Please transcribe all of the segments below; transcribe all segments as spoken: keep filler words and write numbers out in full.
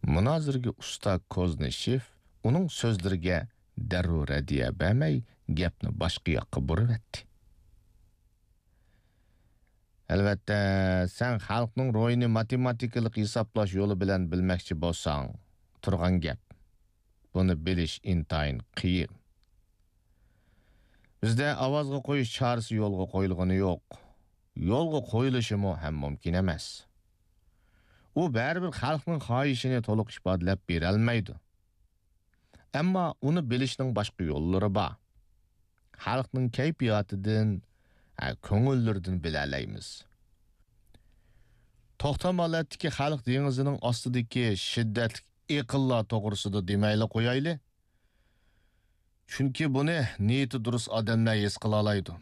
مۇنازىرىگە ئۇستا كوزنىشېف ئۇنىڭ سۆزلىرىگە دەررۇ رەددىيە بەرمەي، گەپنى باشقا ياققا بۇرۇۋەتتى. ئەلۋەتتە، سەن خەلقنىڭ روھىنى ماتېماتىكىلىق ھېسابلاش يولى بىلەن بىلمەكچى بولساڭ، تۇرغان گەپ. بۇنى بىلىش ئىنتايىن قىيىن. بىزدە ئاۋازغا قويۇش چارىسى يولغا قويۇلغىنى يوق. يولغا قويۇلۇشىمۇ ھەم مۇمكىن ئەمەس. ئۇ بەرىبىر خەلقنىڭ خاھىشىنى تولۇق ئىپادىلەپ بېرەلمەيدۇ. ئەمما ئۇنى بىلىشنىڭ باشقا يوللىرى بار. خەلقنىڭ كەيپىياتىدىن، ھە، كۆڭۈللىرىدىن بىلەلەيمىز. توختام ھالەتتىكى خەلق دېڭىزىنىڭ ئاستىدىكى شىددەتلىك ئېقىنلار توغرىسىدا دېمەيلا قويايلى. چۈنكى بۇنى نىيىتى دۇرۇس ئادەملەر ھېس قىلالايدۇ.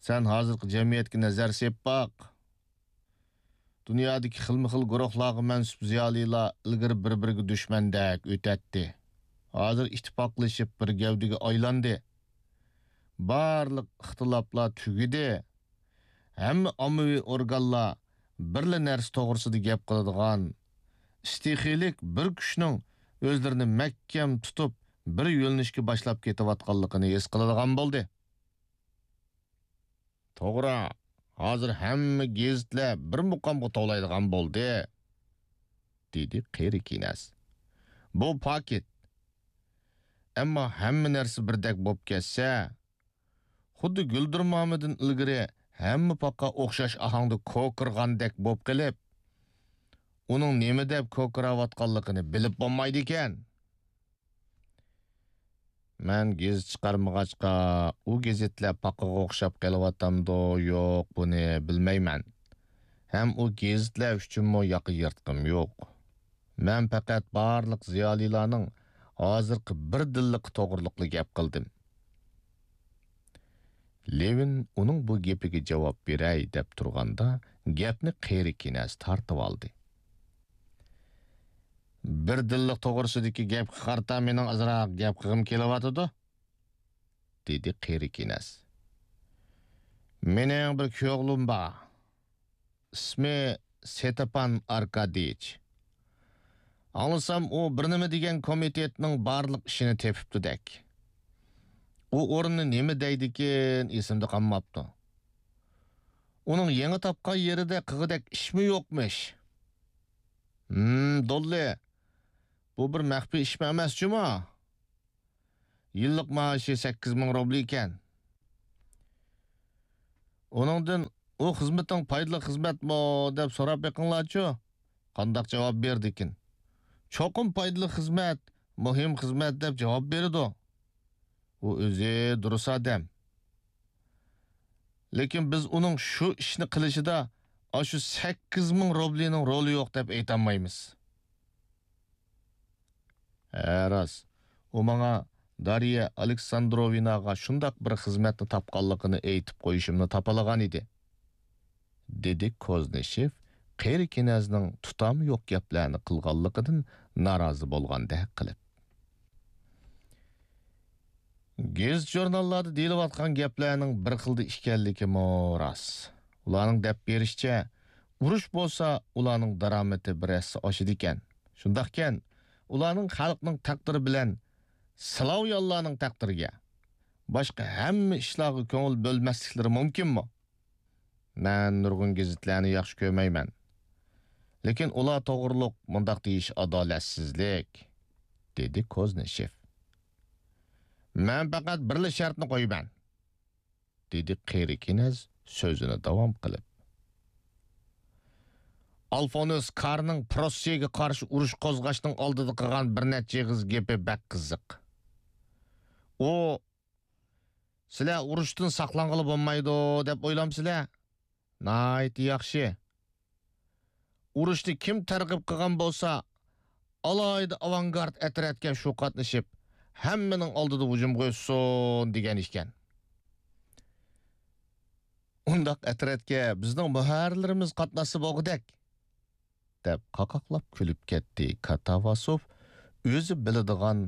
سەن ھازىرقى جەمئىيەتكە نەزەر سېلىپ باق. دۇنيادىكى خىلمۇ خىل گۇرۇھلارغا مەنسۇپ زىيالىيلار ئىلگىرى بىر-بىرىگە دۈشمەندەك ئۆتەتتى. ھازىر ئىتتىپاقلىشىپ بىر گەۋدىگە ئايلاندى. بارلىق ئىختىلاپلار تۈگىدى. ھەممە ئاممىۋى ئورگانلار بىرلا نەرسە توغرىسىدا گەپ قىلىدىغان، ئىستىخىيلىك بىر كۈچنىڭ ئۆزلىرىنى مەھكەم تۇتۇپ، بىر يۆنىلىشكە باشلاپ كېتىۋاتقانلىقىنى ھېس قىلىدىغان بولدى. توغرا، ھازىر ھەممە گېزىتلەر بىر مۇقامغا توۋلايدىغان بولدى، دېدى قېرى كېنەز. بۇ پاكىت. ئەمما ھەممە نەرسە بىردەك بولۇپ كەتسە، خۇددى گۈلدۈرمامىدىن ئىلگىرى ھەممە پاقا ئوخشاش ئاھاڭدا كوكىرىغاندەك بولۇپ قېلىپ، ئۇنىڭ نېمە دەپ كوكىراۋاتقانلىقىنى بىلىپ بولمايدىكەن. مەن گېزىت چىقارمىغاچقا، ئۇ گېزىتلەر پاقىغا ئوخشاپ قېلىۋاتامدۇ، يوق، بۇنى بىلمەيمەن. ھەم ئۇ گېزىتلەر ئۈچۈنمۇ ياقا يىرتقۇم يوق. مەن پەقەت بارلىق زىيالىيلارنىڭ ھازىرقى بىردىنلىقى توغرىلىقلا گەپ قىلدىم. لېۋىن ئۇنىڭ بۇ گېپىگە جاۋاب بېرەي دەپ تۇرغاندا، گەپنى قېرى كېنەز تارتىۋالدى. بىردىنلىق توغرىسىدىكى گەپكە قارىتا مېنىڭ ئازراق گەپ قىلغۇم كېلىۋاتىدۇ، دېدى قېرى كېنەز. مېنىڭ بىر كۈيئوغلۇم بار. ئىسمى ستېپان ئاركاديېچ. ئاڭلىسام، ئۇ بىر نېمە دېگەن كومىتېتنىڭ بارلىق ئىشىنى تېپىپتۇدەك. ئۇ ئورۇننى نېمە دەيدىكىن، ئېسىمدە قالماپتۇ. ئۇنىڭ يېڭى تاپقان يېرىدە قىلغۇدەك ئىشمۇ يوقمىش. ھىم، دوللى، بۇ بىر مەخپىي ئىشمۇ ئەمەس جۇمۇ. يىللىق مائاشى سەككىز مىڭ روبلى ئىكەن. ئۇنىڭدىن، «ئۇ خىزمىتىڭ پايدىلىق خىزمەتمۇ؟» دەپ سوراپ بېقىڭلارچۇ، قانداق جاۋاب بېرىدىكىن. «چوقۇم پايدىلىق خىزمەت، مۇھىم خىزمەت» دەپ جاۋاب بېرىدۇ. ئۇ ئۆزى دۇرۇس ئادەم. لېكىن بىز ئۇنىڭ شۇ ئىشنى قىلىشىدا ئاشۇ سەككىز مىڭ روبلىنىڭ رولى يوق دەپ ئېيتالمايمىز. ھە، راست. ئۇ ماڭا دارىيە ئالېكساندروۋناغا شۇنداق بىر خىزمەتنى تاپقانلىقىنى ئېيتىپ قويۇشۇمنى تاپىلىغان ئىدى، دېدى كوزنىشېف قېرى كېنەزنىڭ تۇتامى يوق گەپلەرنى قىلغانلىقىدىن نارازى بولغاندەك قىلىپ. گېزىت-ژۇرناللاردا دېيىلىۋاتقان گەپلەرنىڭ بىر خىلدا ئىكەنلىكىمۇ راست. ئۇلارنىڭ دەپ بېرىشىچە، ئۇرۇش بولسا ئۇلارنىڭ دارامىتى بىر ھەسسە ئاشىدىكەن. شۇنداقكەن، ئۇلارنىڭ خەلقنىڭ تەقدىرى بىلەن سلاۋيانلارنىڭ تەقدىرىگە، باشقا ھەممە ئىشلارغا كۆڭۈل بۆلمەسلىكلىرى مۇمكىنمۇ؟ مەن نۇرغۇن گېزىتلەرنى ياخشى كۆرمەيمەن. لېكىن ئۇلار توغرۇلۇق مۇنداق دېيىش ئادالەتسىزلىك، دېدى كوزنىشېف. مەن پەقەت بىرلا شەرتنى قويىمەن، دېدى قېرى كېنەز سۆزىنى داۋام قىلىپ. ئالفونس كارنىڭ پروسسىيەگە قارشى ئۇرۇش قوزغاشنىڭ ئالدىدا قىلغان بىر نەچچە ئېغىز گېپى بەك قىزىق. ئۇ، «سىلەر ئۇرۇشتىن ساقلانغىلى بولمايدۇ» دەپ ئويلامسىلەر؟ ناھايىتى ياخشى. ئۇرۇشنى كىم تەرغىب قىلغان بولسا، ئالاھىدە ئاۋانگارد ئەترەتكە شۇ قاتنىشىپ، ھەممىنىڭ ئالدىدا ھۇجۇمغا ئۆتسۇن دېگەن ئىكەن. ئۇنداق ئەترەتكە بىزنىڭ مۇھەررىرلىرىمىز قاتناشسا بولغۇدەك، دەپ قاقاقلاپ كۈلۈپ كەتتى كاتاۋاسوف، ئۆزى بىلىدىغان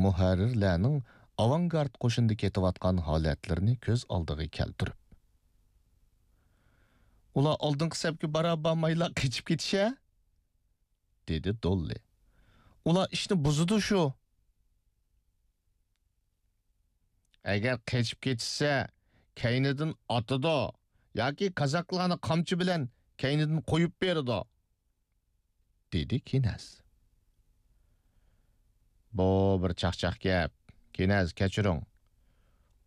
مۇھەررىرلەرنىڭ ئاۋانگارد قوشۇندا كېتىۋاتقان ھالەتلىرىنى كۆز ئالدىغا كەلتۈرۈپ. ئۇلار ئالدىنقى سەپكە بارا بارمايلا قېچىپ كېتىشە؟ دېدى دوللى. ئۇلار ئىشنى بۇزىدۇ شۇ. ئەگەر قېچىپ كېتىشسە، كەينىدىن ئاتىدۇ ياكى كازاكلارنى قامچا بىلەن كەينىدىن قويۇپ بېرىدۇ، دېدى كىنەز. بۇ بىر چاقچاق گەپ. كىنەز، كەچۈرۈڭ.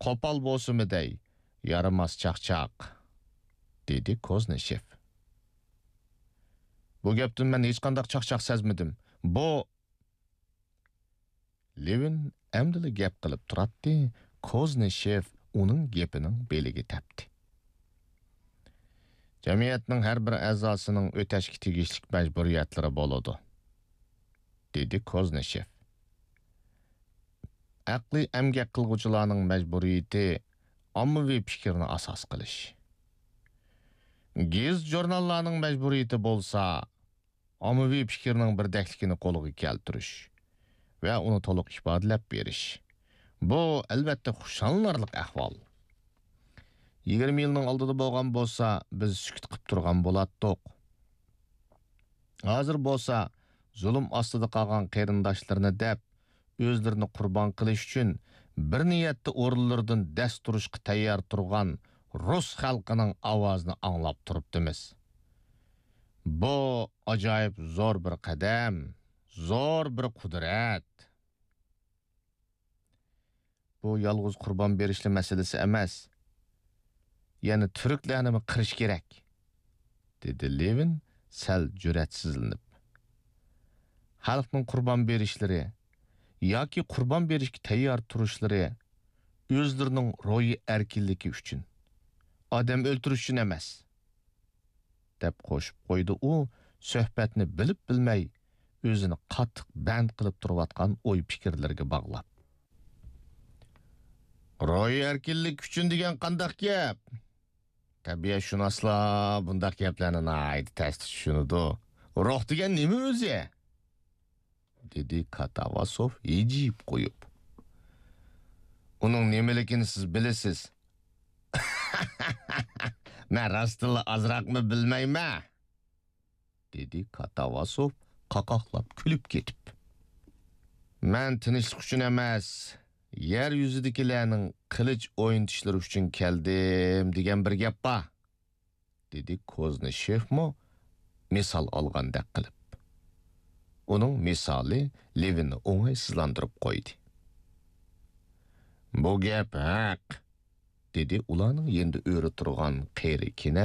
قوپال بولسىمۇ دەي، يارىماس چاقچاق، دېدى كوزنىشېف. بۇ گەپتىن مەن ھېچقانداق چاقچاق سەزمىدىم. بۇ لېۋىن ئەمدىلا گەپ قىلىپ تۇراتتى، كوزنىشېف ئۇنىڭ گېپىنىڭ بېلىگە تەپتى. جەمئىيەتنىڭ ھەر بىر ئەزاسىنىڭ ئۆتەشكە تېگىشلىك مەجبۇرىيەتلىرى بولىدۇ، دېدى كوزنىشېف. ئەقلىي ئەمگەك قىلغۇچىلارنىڭ مەجبۇرىيىتى ئاممىۋى پىكىرنى ئاساس قىلىش. گېزىت-ژۇرناللارنىڭ مەجبۇرىيىتى بولسا ئاممىۋى پىكىرنىڭ بىردەكلىكىنى قولغا كەلتۈرۈش ۋە ئۇنى تولۇق ئىپادىلەپ بېرىش. بۇ، ئەلۋەتتە، خۇشاللىنارلىق ئەھۋال. يىگىرمە يىلنىڭ ئالدىدا بولغان بولسا، بىز سۈكۈت قىپ تۇرغان بولاتتۇق. ھازىر بولسا، زۇلۇم ئاستىدا قالغان قېرىنداشلىرىنى دەپ، ئۆزلىرىنى قۇربان قىلىش ئۈچۈن بىر نىيەتتە ئورۇنلىرىدىن دەس تۇرۇشقا تەييار تۇرغان رۇس خەلقىنىڭ ئاۋازىنى ئاڭلاپ تۇرۇپتىمىز. بۇ ئاجايىپ زور بىر قەدەم، زور بىر قۇدرەت. بۇ يالغۇز قۇربان بېرىشلا مەسىلىسى ئەمەس. يەنە تۈركلەرنىمۇ قىرىش كېرەك، دېدى لېۋىن سەل جۈرئەتسىزلىنىپ. خەلقنىڭ قۇربان بېرىشلىرى ياكى قۇربان بېرىشكە تەييار تۇرۇشلىرى ئۆزلىرىنىڭ روھىي ئەركىنلىكى ئۈچۈن، ئادەم ئۆلتۈرۈش ئۈچۈن ئەمەس، دەپ قوشۇپ قويدى ئۇ، سۆھبەتنى بىلىپ-بىلمەي ئۆزىنى قاتتىق بەند قىلىپ تۇرۇۋاتقان ئوي-پىكىرلىرىگە باغلاپ. روھىي ئەركىنلىك ئۈچۈن دېگەن قانداق گەپ؟ تەبىئەتشۇناسلار بۇنداق گەپلەرنى ناھايىتى تەستە چۈشىنىدۇ. روھ دېگەن نېمە ئۆزى؟ دېدى كاتاۋاسوف ھىجىيىپ قويۇپ. ئۇنىڭ نېمىلىكىنى سىز بىلىسىز؟ مەن راستتىنلا ئازراقمۇ بىلمەيمەن، دېدى كاتاۋاسوف قاقاقلاپ كۈلۈپ كېتىپ. مەن تىنچلىق ئۈچۈن ئەمەس، يەر يۈزىدىكىلەرنىڭ قىلىچ ئوينىتىشلىرى ئۈچۈن كەلدىم دېگەن بىر گەپ بار، دېدى كوزنىشېفمۇ مىسال ئالغاندەك قىلىپ. ئۇنىڭ مىسالى لېۋىننى ئوڭايسىزلاندۇرۇپ قويدى. بۇ گەپ ھەق، دېدى ئۇلارنىڭ يېنىدا ئۆرە تۇرغان قېرى كىنە